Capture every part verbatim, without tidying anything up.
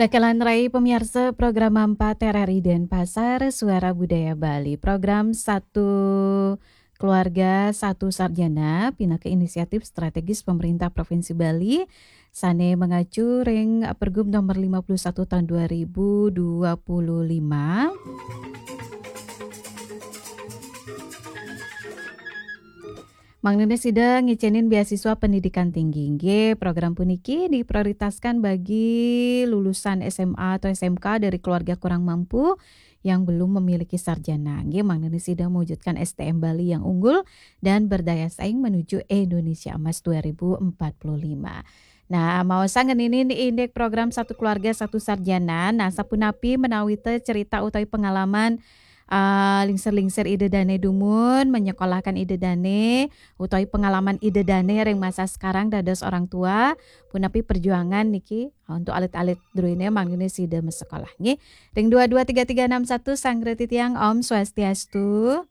Kakalan rai pamiarsa program empat R R I Denpasar, Suara Budaya Bali. Program Satu Keluarga Satu Sarjana, pinaka inisiatif strategis pemerintah Provinsi Bali, sane mengacu ring Pergub nomor lima puluh satu tahun dua ribu dua puluh lima. Mangdane sida ngicenin beasiswa pendidikan tinggi. Nggih, program puniki diprioritaskan bagi lulusan S M A atau S M K dari keluarga kurang mampu yang belum memiliki sarjana. Nggih, mangdane sida mewujudkan S D M Bali yang unggul dan berdaya saing menuju Indonesia Emas dua ribu empat puluh lima. Nah, maosang ngeninin indik program Satu Keluarga Satu Sarjana. Nah, sapunapi menawita cerita utawi pengalaman ah, lingsir-lingsir ida dane dumun, menyekolahkan ida dane, utawi pengalaman ida dane ring masa sekarang dados orang tua, punapi perjuangan niki, ah, untuk alit-alit druine mangdane sida masekolah nggih. Ring dua dua tiga tiga enam satu sanggra titiang, Om Swastiastu.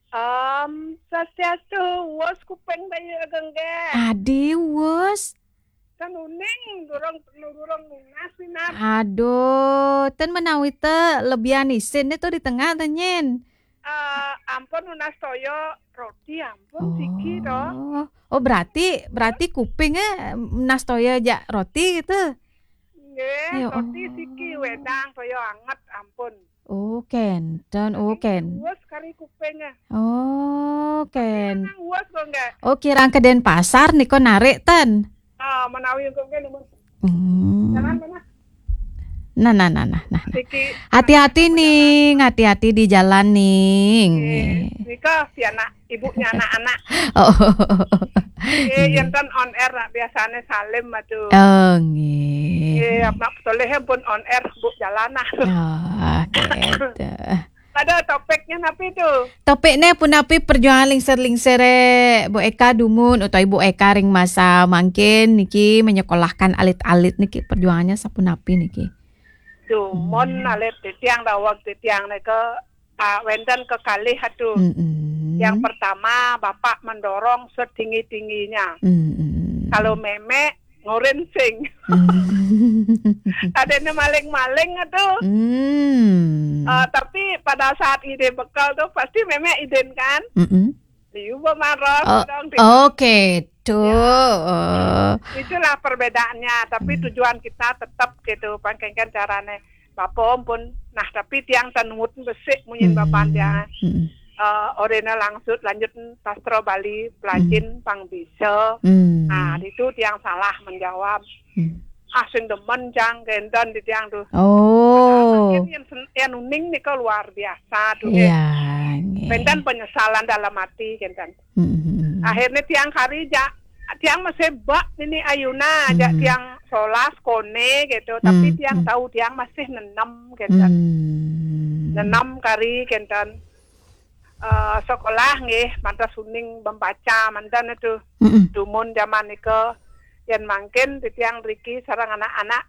Om Swastiastu, wus kuping bayu ageng nggih. Adi wus. Kan uning durung, durung nunas, Minab. Aduh, ten menawita lebihan isin to di tengah to, Nyin. Eh, ampun, nunas toya roti, ampun, siki to. Oh. Oh, berarti, berarti kuping, eh, nunas toya jak roti gitu? Nggih, ya roti Allah. Siki, wedang toya anget, ampun. Oh, kenten, oh, ken. Wus kari kuping, eh. Oh, ken. Nang wus kok nggih. Oh, kirang ke Denpasar niko narik ten. Ah, menawi engko nggih, numun. Hmm. Jalan mana? Nah, nah, nah, nah, nah, nah. Iki hati-hati, Ning, hati-hati di jalan, Ning. Nggih. Nika si anak, ibunya anak-anak. Oh. Nggih, yen ten on air nak biasane salim, aduh. Oh, nggih. Nggih, Mak Soleh pun on air, Bu, jalan nah. Oh, gitu. Pada topiknya napi tu? Topiknya punapi perjuangan lingsir-lingsire Bu Eka dumun utawi Bu Eka ring masa mangkin niki menyekolahkan alit-alit niki, perjuangannya sapunapi niki? Dumun, hmm, alit titiang daweg titiang nika, ah, wenten kekalih atu. Mm-mm. Yang pertama, bapak mendorong setinggi-tingginya. Mm-mm. Kalau memek, ngurin sing. Hmm. Adanya maling-maling atu. Hmm. Ah, tapi pada saat ide bekal tu, pasti memek idin kan? Mm-mm. Liu bemaros. Oh, dong, di- oke, tu. Ya. Oh. Itulah perbedaannya, tapi, hmm, tujuan kita tetap gitu, pangkengken carane. Bapa pun, nah, tapi tiang ten nuut besik munyin, hmm, bapan tiang. Hmm. Eh, orena langsut lanjut sastra Bali, pelajin, hmm, pang bisa. Hmm. Nah, itu tiang salah menjawab. Hmm. Ah, sing demen cang kenten di tiang tu. Oh. Nah, mungkin yang sen-, yang uning nika luar biasa tu, nggih. Iya, nggih. Kenten penyesalan dalam hati kenten. Hmm. Akhirnya tiang kari jak, tiang masih bak nini ayuna, jak, hmm, tiang solas kone gitu, tapi, hmm, tiang, hmm, tahu tiang masih nenem kenten. Hmm. Nenem kari kenten. Eh, sekolah nggih, mantas uning membaca mantan itu. Mm-mm. Dumun zaman nika, yen mangkin titiang riki sareng anak-anak,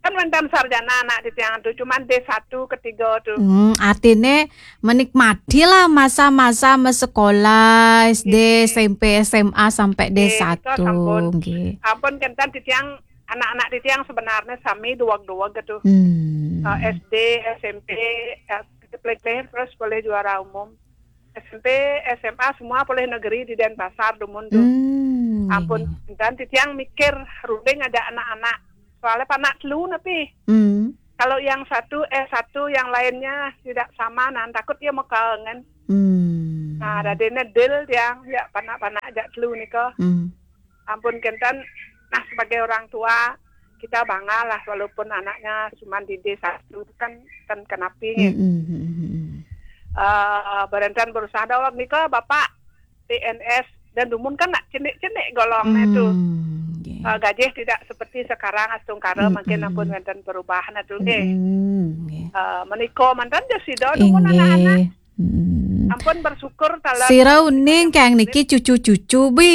kan wenten sarjana anak titiang tu, cuman D satu ketiga tu. Hmm, artine menikmatilah masa-masa mesekolah, S D, nggih, S M P, S M A sampai, nggih, nika D satu, sampun. Nggih. Ampun kenten titiang, anak-anak titiang sebenarnya sami duweg-duweg tu. Hmm. Eh, S D, S M P, eh, pelih-pelih terus boleh juara umum. S M P, S M A semua boleh negeri di Denpasar dumun tu. Hmm, ampun, iya. Dan titiang mikir runding ada anak-anak. Soalnya panak telu napi. Hmm. Kalau yang satu S satu, yang lainnya tidak sama, nah, takut dia mekangen. Hmm. Nah, dadine deal tiang, ya, panak-panak aja telu nika. Hmm. Ampun kenten, nah, sebagai orang tua, kita bangga lah walaupun anaknya cuma di D satu kan, kan kenapi nggih. Mm, mm, mm, mm, mm. Eh, berentan berusaha daweg nika Bapak P N S dan dumun kan nak cenik-cenik golongnya tu. Mm, nggih. Eh, gajih tidak seperti sekarang, astungkara, mm, mungkin, mm, ampun wenten perubahan atu nggih. Mm, nggih. Eh, menika manten ja sida dumun, inggih, anak-anak. Mm. Ampun bersyukur taler. Sira uning kang niki cucu-cucu, bi.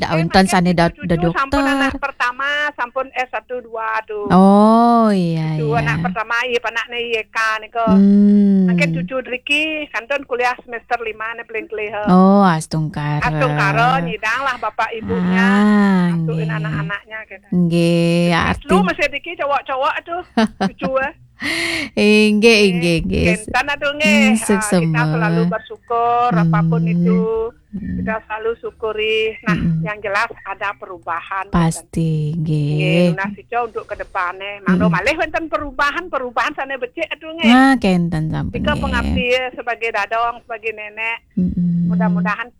Dak wénten sané da-, cucu-cucu, da dokter. Sampun anak pertama, sampun S satu dua tuh. Oh, iya, cucu iya. Anak pertama, iya, anakné Y K nika. Hmm. Mangkin cucu driki kantun kuliah semester lima né paling kelih. Oh, astungkara. Astungkara, nyidang lah bapak ibunya. Ah, nggih. Anak-anaknya gitu. Nggih, arti lu masih driki cowok-cowok tuh, cucu, eh. Inggih, inggih, inggih. Kénten atuh nggih. Hmm, suksma. Ah, kita selalu bersyukur apapun itu. Hmm. Kita selalu syukuri. Nah, yang jelas ada perubahan. Pasti, nggih. Nggih, nunas ica untuk ke depannya. Mangda malih wénten perubahan, perubahan sané becik atuh nggih. Nah, kénten sampun nggih. Pengabdi sebagai dadong, sebagai nenek. Mm-mm. Mudah-mudahan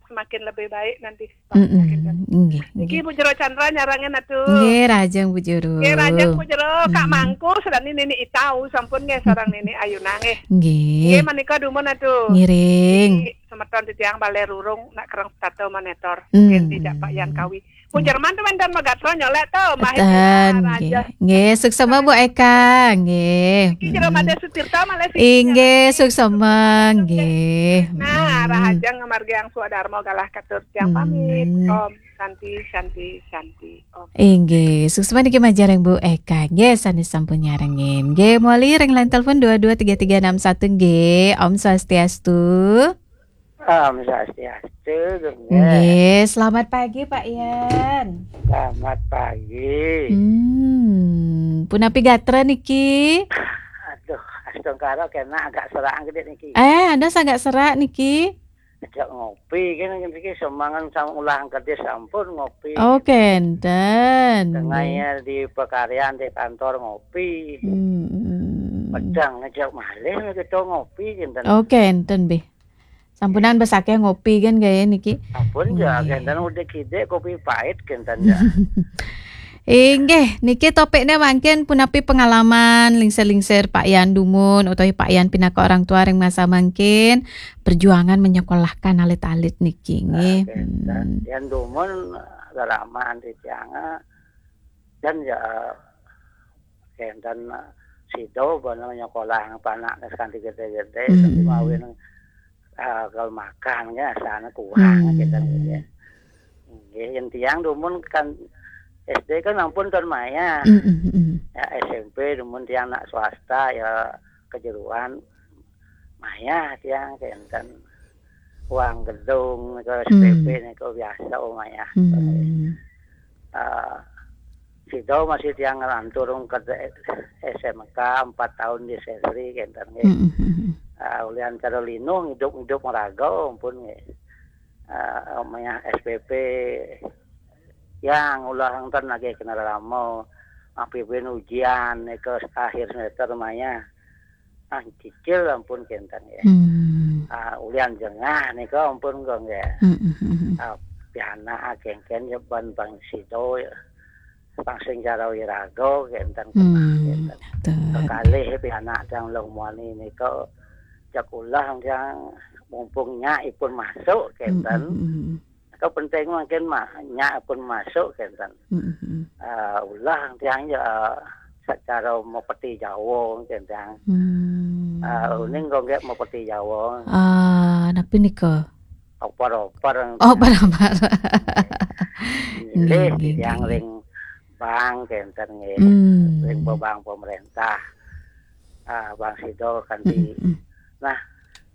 semakin lebih baik nanti. Mm-mm. Nggih, nggih. Niki Bu Jero Chandra nyarengin atuh. Nggih, rahajeng Bu Jero. Nggih, rahajeng Bu Jero, Kak Mangku, sareng Nini Itau, sampun nggih sareng Nini Ayuna nggih. Nggih. Nggih, menika dumun atuh. Ngiring. Niki semeton titiang Balé Rurung, nak kereng tato monitor. Hmm. Nggih, dijak Pak Yan Kawi. Bu Jerman tuh wénten magatra nyolek tuh, Mbah. Ten, Eka, nggih. Raja. Nggih, suksma Bu Eka, nggih. Niki Jero Made Sutirta malih siki. Inggih, suksma, nggih. Nah, rahajeng ngamargiang swadarma galah katur tiang pamit. Hmm. Om Santi, Santi, Santi. Om. Inggih, suksma niki majeng ring Bu Eka. Nggih, sané sampun nyarengin. Nggih, mawali ring line telepon dua dua tiga tiga enam satu nggih. Om Swastiastu. Om Swastiastu, nggih. Nggih, selamat pagi Pak Yan. Selamat pagi. Hmm, punapi gatra niki? Aduh, astungkara kena agak serak gedé niki. Eh, ada agak serak niki? Ajak ngopi kan niki semangan sama ulah gedé sampun ngopi. Oh, kénten. Tengahnya di pekaryan di kantor ngopi. Hmm. Pedang ngejak malih kita ngopi kénten. Oh, kénten, Bih. Sampunan bes akéh ngopi kan gaya niki. Ampun ya, nggih. Kénten udik-idik kopi pait kénten ya. Inggih, niki topiknya mangkin punapi pengalaman lingsir-lingsir Pak Yan dumun utawi Pak Yan pinaka orang tua ring masa mangkin perjuangan menyekolahkan alit-alit niki nggih. Nah, kénten. Hmm. Yan dumun garaman titiang, dan ya, kénten sida bana nyekolah panak kanti gedé-gedé, hmm, tapi mawin, ah, kalau makan ya asana kurang, hmm, kénten ya. Nggih, yen tiang dumun kan S D kan ampun ten maya. Hmm, hmm, hmm. Ya, S M P dumun tiang nak swasta ya kejeroan maya tiang kénten. Uang gedung ke, hmm, S P P niku biasa maya. Hmm. Ah, sida masih tiang nglantur ke S M K empat tahun di Sesri kénten nggih. Hmm, hmm, hmm. Ah, ulian cara linu ngidup-ngidup maraga ampun nggih. Ah, maya S P P yang ulah enten lagi kena lama. Ampun ujian niku akhir semester maya. Ah, cicil ampun kénten ya. Hmm. Ah, ulian jengah niku ampun kok nggih. Hmm, hmm, hmm, hmm. Ah, pianak kéngkén ya ban bang sida ya. Bang sing cara wiraga kénten, hmm, kénten. Betul. Kekalih pianak tiang Luh Muani niku jak ulah tiang mumpung nyak ipun masuk kénten. Hmm, hmm, hmm, hmm. Itu penting mungkin mah, nyak pun masuk kénten. Mm-mm. Eh, ulah tiang ya, eh, secara mepeti Jawa kénten. Hmm. Eh, uning kok nggih mepeti Jawa. Ah, napi nika? Oper-oper. Oh, oper-oper. Nggih, nggih, tiang nggih, ring bank kénten nggih. Hmm. Ring bank pemerintah. Ah, bank sida kanti. Mm-mm. Nah,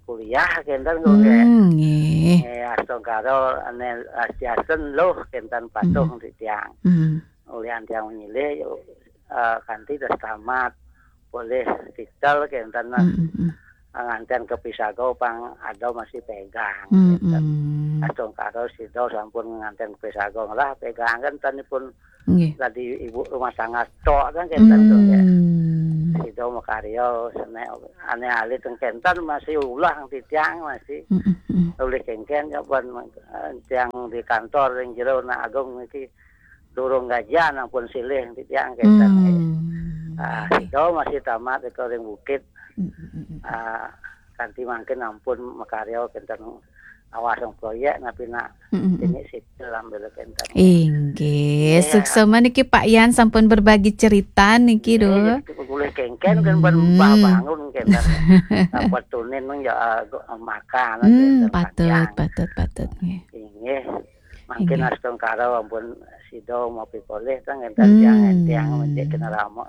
kuliah kénten kok nggih. Hmm, nggih. Nggih, astungkara ane astiasen luh kénten patuh, hmm, titiang. Hmm. Ulian tiang nyilih, eh, kanti terus tamat. Boleh titel kénten, nah. Hmm, hmm, hmm. Nganten ke Pisago pang ada masih pegang, hmm, kénten. Hmm. Astungkara sida sampun nganten ke Pisago ngelah pegang kan tanipun. Nggih. Tadi ibu rumah tangga tok kan kénten tuh, ya. Hmm. Sida makarya, senek ane alit kénten masih ulah titiang masih. Mm, mm, mm. Oleh kéngkén ya, ban, eh, tiang di kantor ring jero nak agung niki durung gajian ampun silih titiang kénten. Hmm. Ah, sida masih tamat iku ring bukit. Mm, mm, mm, mm. Ah, kanti mangkin ampun makarya kénten. awas wong proyek, napi nak Mm-mm. ini sipil ambil kenten. Inggih, Iya. Suksma niki Pak Yan sampun berbagi cerita niki, Ini Dok. Boleh kengken kan ban Hmm. bah bangun kenten. Dapat tunin nang ya, ah, makan Hmm, kenten, patut, makan. patut, patut nggih. Inggih. Mangkin Inggih. Astungkara ampun sida mau pikolih teng kenten Hmm. tiang-tiang mencik kena rama.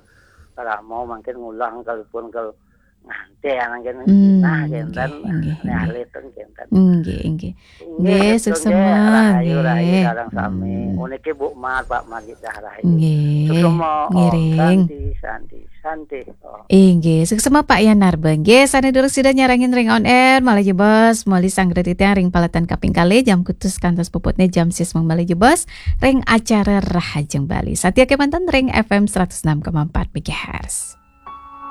Rama mangkin ngulang kalipun kal nganten mangkin Hmm, nah kenten. inggih, inggih, Nek inggih. alit teng kenten. Nggih, nggih. Nggih, Nggih, Suksma, nggih, rahayu, rahayu nggih. sareng sami. Hmm. Puniki Bu Mat, Pak Magik Cahrayu. Nggih, Suksma, Om. ngiring. Santi, Santi, Santi, Om. Inggih, Suksma Pak Yan Narba. Nggih, sane durung sida nyarengin ring on air, malih jebos, malih sanggra titiang ring paletan kaping kalih, jam kutus kantos puputne jam sis malih jebos, ring acara Rahajeng Bali. Satia kemanten ring F M seratus enam koma empat megahertz.